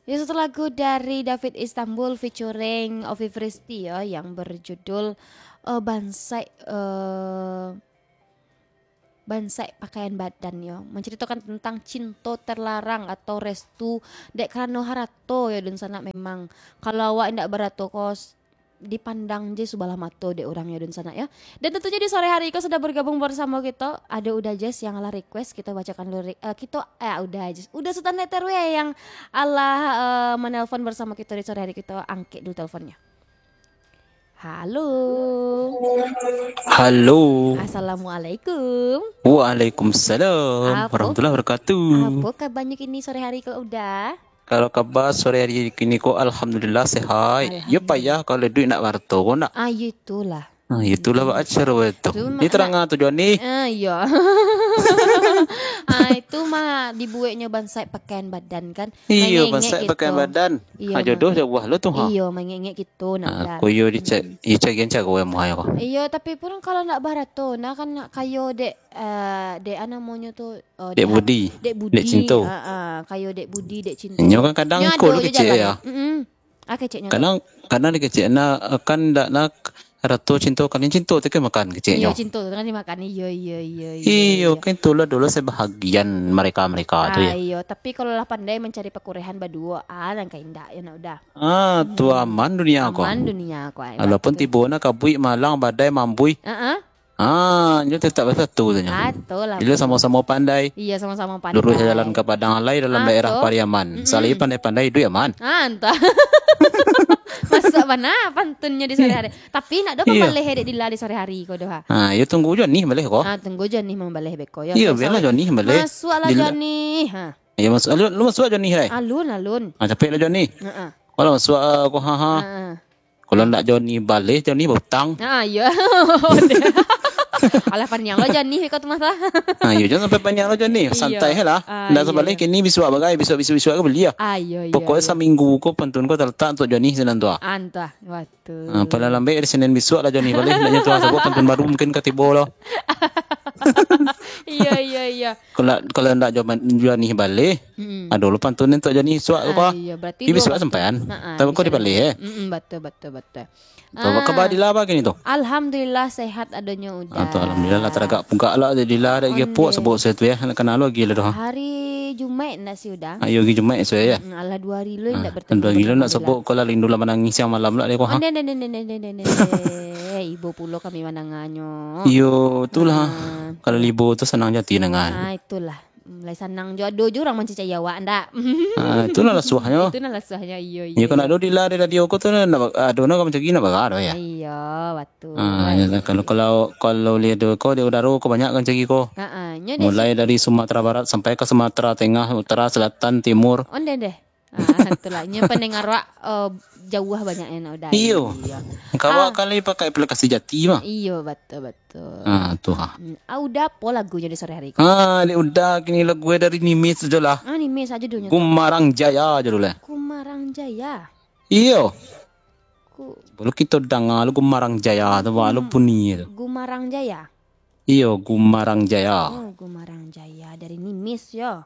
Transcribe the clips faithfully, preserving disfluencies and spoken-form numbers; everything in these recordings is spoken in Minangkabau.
Ini satu lagu dari David Istanbul featuring Ovi Fristi, ya, yang berjudul, eh, Bansaik, eh, Bansaik Pakaian Badan, yo. Menceritakan tentang cinto terlarang atau restu dek karano harato, yo, dunsanak. Memang, kalau awak indak barato ko, s-, dipandang je subalah mato dek urang, yo, dunsanak, yo. Dan tentunya di sore hari ko sudah bergabung bersama kito, ada Uda Jazz yang alah request, kito bacakan lirik, eh, kito, eh, Uda Jazz, Uda Sutan Letter W yang alah, eh, menelpon bersama kito di sore hari, kito angkek dulu teleponnya. Halo. Halo. Assalamualaikum. Waalaikumsalam Apo? warahmatullahi wabarakatuh. Apo kabarnyo kini sore hari ko, Uda? Kalau kaba sore hari kini ko, alhamdulillah sehat. Yo, Alhamdulillah. payah kalau duit nak barato ko nak. Ah, yo itulah. Ah, itulah Hmm. bak acara tu. Itu Di ma-, terang nak tu, Joni. Ah, iyo. Ah, itu mah dibueknyo bansaik pakaian badan kan. Iyo, Mangengek bansaik gitu. pakaian badan. Iyo, Ha, jodoh ma-, jauah lo tu, ha. iyo, mangengek gitu nak Ah, Uda. Ko iyo dicak, Mm-mm. iyo cagian caro yang muhai ko. Iyo, tapi pun kalau nak barato, nah kan nak kayo dek, eh, dek, ah, namonyo tu, oh, Dek dek, Budi, dek Budi, dek Cinto. ah, ah, kayo dek Budi, dek Cinto. Inyo kan kadang Nyo ko ado lo je kecek jalan. ya. Mm-mm. Ah, keceknyo tu. Kadang, kadang dikecek na, kan ndak nak rato cinto, kalian cinto tu kan makan keceknyo. Iyo, cinto tu kan dimakan. Iyo, iyo, iyo, iyo, Iyo, iyo. kan itulah dulu sebahagian mereka-mereka tu Ah, ya. iyo. Tapi kalau lah pandai mencari pakurehan baduo, ah, nan ka indak, yo nak Uda. Ah, tu Hmm. aman dunia ko. Aman dunia ko, ai, Walaupun batul. tibo na kabuik, malang, badai, mambui. Ah, ah. Ah, nyo tetap basatu tu nyo. Ah, tu lah, Bila betul. samo-samo pandai. Iya, sama-sama pandai. Lurus jalan ka Padang Alai dalam Ah, daerah tu. Pariaman. Mm-mm. Salai pandai-pandai, iduik aman. Ah, antah. Masak bana pantunnyo di sore hari. Tapi nak doh Iya. pambaleh dek Dila di sore hari ko doh, ha. Ha, yo tunggu Joni baleh ko. Ah, tunggu Joni mambaleh beko, yo. Iyo, Sai biarlah sawit. Joni baleh. Masuaklah Dila. Joni. Ha. Iyo, masuk. Alun, lu masuk Joni, hai. Alun, alun. Ha, capeklah Joni. Heeh. Kalau masuk, ah, ko, ha, ha. Heeh. Kalau ndak Joni baleh, Joni bautang. Ah, iyo. Alah, paniang lo Joni ko tu masa. Ha, iyo, jangan sampai paniang lo Joni. Iyo. Santai lah. Ah, Ndak iyo, sabaleh iyo. kini bisuak bagai, bisuak, bisuak, bisuak ko bali lah. Ah, iyo, iyo, Pokoknya iyo. saminggu ko pantun ko talatak untuk Joni sinan tu ah. Antah, betul. Ha, paling lambek dari Senin bisuak lah Joni baleh. Ndaknyo tu ah, sabab pantun baru mungkin ka tibo lo. Iyo, iyo, iyo. Kalau, kalau ndak Joni baleh, Mm-mm. ado lo pantun untuk Joni bisuak ko Ah, ah. iyo, berarti Di dua bisuak batu. sampaian. Ha, ah, Tapi ko bisuak dibaleh, eh. Mm-mm, betul, betul, betul. Apa Ah. kaba Dila apa kini tu? Alhamdulillah, sehat adonyo Uda. Ah, tu alhamdulillah lah, taragak pugak lah Dila, dak Onde. gepok sebut saya tu ya, nak kenal lo gila tu, ha. Hari Jumaik ndak sih Uda? Ayo gi Jumaik esok ya. Mm, alah, dua hari lo Ah, ndak bertemu dua hari lo dengan nak Dila. sebut ko lah rindu lah manangih siang malam lah dia ko, ha. Onde, onde, onde, onde, onde, onde, onde. Eh, ibo pulo kami mandanganyo. Iyo, itulah. Ah. Kalau ibo tu sanang jati dengan. Ah, itulah. Mulai sanang jo ado jo urang mancacai awak, ndak? Ah, itulah lasuahnyo. Itulah lasuahnyo, iyo, Iyo, iyo. kan ado Dila di radio ko tu, nak ba-, ado nak mancari nak bara doh, ya? Iyo, betul. Ah, ya, kalau, kalau, kalau lihat ko di udaro ko banyak kan cari ko. Ha, ah, nyo dek Mulai dari Sumatera Barat sampai ke Sumatera Tengah, Utara, Selatan, Timur. Onde deh. Ah, itulah. Nyo pendengar awak, eh, jauah banyak yang nak udah. Iyo. Iyo. Kawak Ah. kali pakai aplikasi Jati mah. Iyo, betul, betul. Ah, tu ha. Hmm. Ah, udah apa lagunya di sore hari ko? Ah, ni udah kini lagu dari Nimis sajo lah. Ah, Nimis aja dulunya tu. Gumarang Jaya aja dulu lah. Gumarang Jaya. Iyo. Ku- Sebelum kita dengar lu Gumarang Jaya tu, wah, lu Gum-, bunyi tu. Gumarang Jaya. Iyo, Gumarang Jaya. Oh, Gumarang Jaya dari Nimis, yo.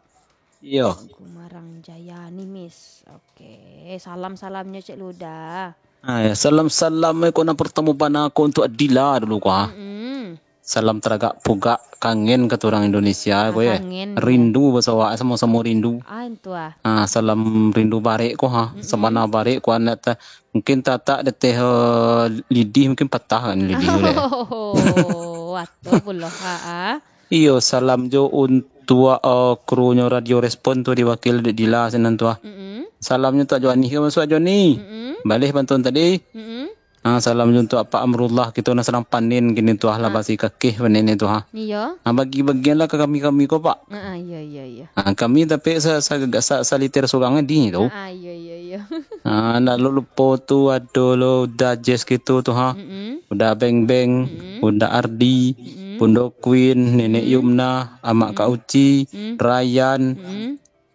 Iyo. Gumarang Jaya Nimis. Oke, salam-salamnya Cek Luda. Ah, ya, salam-salam, eh, ko nan pertama bana ko untuk Adila dulu, ko, ah. Mm-mm. Salam taragak pugak, kangen kata urang Indonesia, Ah, ko, ya. kangen, ya. Rindu baso awak, samo-samo rindu. Ah, itu, ah. Ah, salam rindu barek, ko, ha. Mm-mm. Sabana barek, ko, anak ta-, Mungkin tatak deteh, eh, lidih, mungkin patah kan lidih tu deh. Oh, atuh pulo, ha, ah. Iyo, salam jo untuak, eh, krunyo Radio Respon tu diwakil dek Dila sinan tu, ah. Mm-mm. Salamnyo untuak Joni, ka masuak Joni. Mm-mm. Baleh pantun tadi. Mm-mm. Ah, salam jo untuak Pak Amrullah, kito nan sadang panen kini tu, ah, lah Ah. basi kakeh panen tu, ah. Iyo. Ah, bagi-bagianlah ka kami-kami ko, Pak. Ah, ah, iyo, iyo, iyo. Ah, kami tapi sa-, sa-, sa-, saliter surang di tu. Ah, ah, iyo, iyo, iyo. Ah, ndak lo lupo tu, ado lo Uda Jazz kito tu, ha. Mm-mm. Uda Beng Beng, Mm-mm. Uda Ardi, Mm-mm. Bundo Queen, Nenek Mm-mm. Yumna, Amak Kak Mm-mm. Uci, Mm-mm. Ryan, Mm-mm.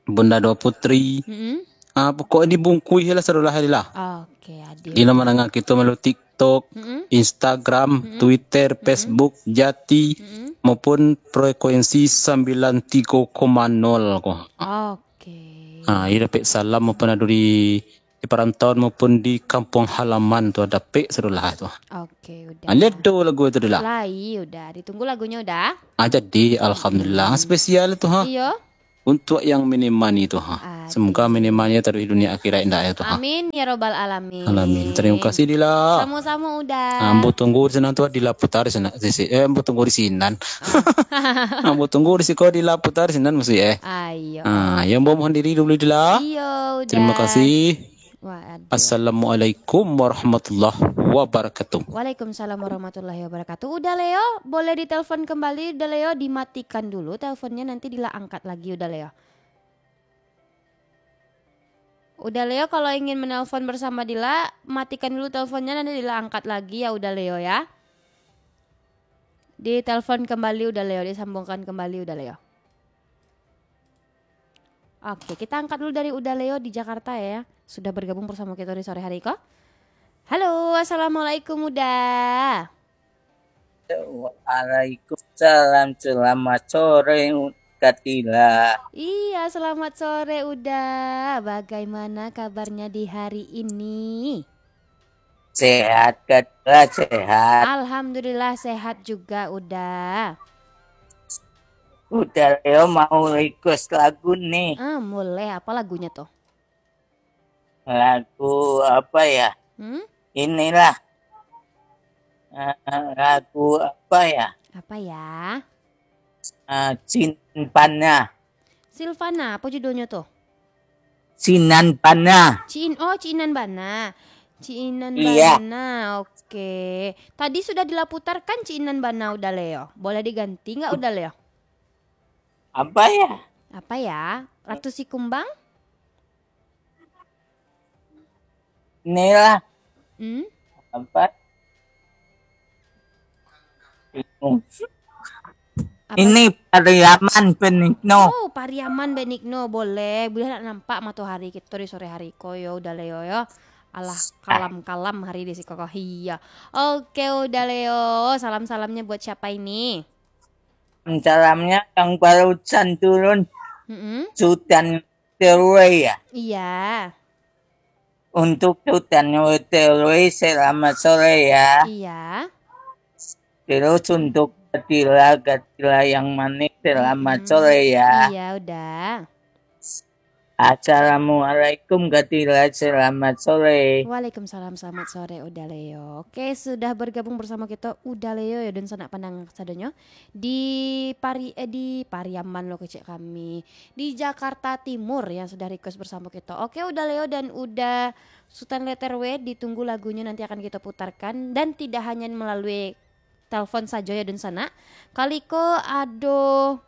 Bunda Dua Putri. Mm-mm. Ah, pokok dibungkuih lah sadolah hari lah. Oke, adil. Di nan mandanga kito malu TikTok, Mm-mm. Instagram, Mm-mm. Twitter, Mm-mm. Facebook, Jati, Mm-mm. maupun frekuensi sambilan tigo koma nol ko. Oke. Ah, iyo dapek salam maupun ado di, di parantauan maupun di kampuang halaman tu, dapek sudah lah tu. Oke, Uda. Ah, lihat tu lagu tu, Dila. Lai, Uda. Ditunggu lagunyo, Uda. Ah, jadi, alhamdulillah. Hmm. Spesial tu, ha. Iyo. Untuk yang menemani tu, ha. Aduh. Semoga menemani taruih dunia akhirat indak ya tu, ha. Amin, ya robbal alamin. Alamin. Terima kasih, Dila. Samo-samo, Uda. Ah, ambo tunggu di sinan tu, Dila putar di sinan, sisi. Eh, ambo tunggu di sinan. Ah. Ambo tunggu di siko, Dila putar di sinan mesti, eh. Ayo. Ah, yang ambo mohon diri dulu, Dila. Iyo, Uda. Terima kasih. Waduh. Assalamualaikum warahmatullahi wabarakatuh. Waalaikumsalam warahmatullahi wabarakatuh. Uda Leo, boleh ditelepon kembali, Uda Leo, dimatikan dulu teleponnya, nanti Dila angkat lagi, Uda Leo. Uda Leo, kalau ingin menelpon bersama Dila, matikan dulu teleponnya, nanti Dila angkat lagi ya, Uda Leo ya. Ditelepon kembali, Uda Leo, disambungkan kembali, Uda Leo. Oke, kita angkat dulu dari Uda Leo di Jakarta ya. Sudah bergabung bersama kita di sore hari ko. Halo, assalamualaikum, Uda. Waalaikumsalam, selamat sore, Kak Dila. Iya, selamat sore, Uda. Bagaimana kabarnya di hari ini? Sehat, Kak Dila, sehat. Alhamdulillah, sehat juga, Uda. Uda Leo mau request lagu nih. Ah, boleh. Apa lagunya tuh? Lagu apa ya? Hmm? Inilah. Eh, lagu apa ya? Apa ya? Eh, Cin Pana. Silvana, apa judulnya tuh? Cinan Bana. Cin, oh, Cinan Bana. Cinan Iya. Bana, oke. Tadi sudah dilaputarkan Cinan Bana, Uda Leo. Boleh diganti nggak, Uda Leo? Apa ya? Apa ya? Ratu Sikumbang? Inilah. Hmm? Apa? Bingung. Apa? Ini Pariaman Benigno. Oh, Pariaman Benigno, boleh. Buliah nak nampak matohari kito di sore hari ko yo, Uda Leo yo. Alah, kalam-kalam hari di siko ko. Iya. Oke, Uda Leo. Salam-salamnya buat siapa ini? Salamnya yang barusan turun. Mm-mm. Sultan Terway ya. Iya. Untuk Sultan Terway, selamat sore ya. Iya. Terus untuk Gatila, Gatila yang manis, selamat Mm-mm. sore ya. Iya, Uda. Assalamualaikum, Gatila, selamat sore. Waalaikumsalam, selamat sore, Uda Leo. Oke, sudah bergabung bersama kita Uda Leo ya, dan sanak pandang sadonyo di Pari-, eh, di Pariaman lo kecek kami. Di Jakarta Timur yang sudah request bersama kita. Oke, Uda Leo dan Uda Sultan Letter W, ditunggu lagunya, nanti akan kita putarkan. Dan tidak hanya melalui telepon sajo ya, dunsanak. Kali ko ado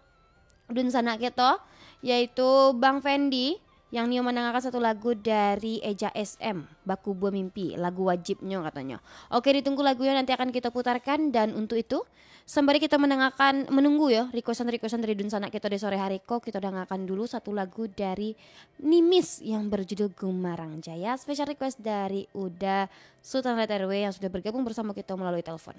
dunsanak kito, yaitu Bang Fendi, yang nio mandangarkan satu lagu dari Eja S M, Bakubua Mimpi, lagu wajibnyo katonyo. Oke, ditunggu lagunya, nanti akan kita putarkan. Dan untuk itu, sembari kita mendengarkan, menunggu yo, requestan-requestan dari dunsanak kito di sore hari ko, kita dengarkan dulu satu lagu dari Nimis yang berjudul Gumarang Jaya, special request dari Uda Sultan Letter W yang sudah bergabung bersama kita melalui telepon.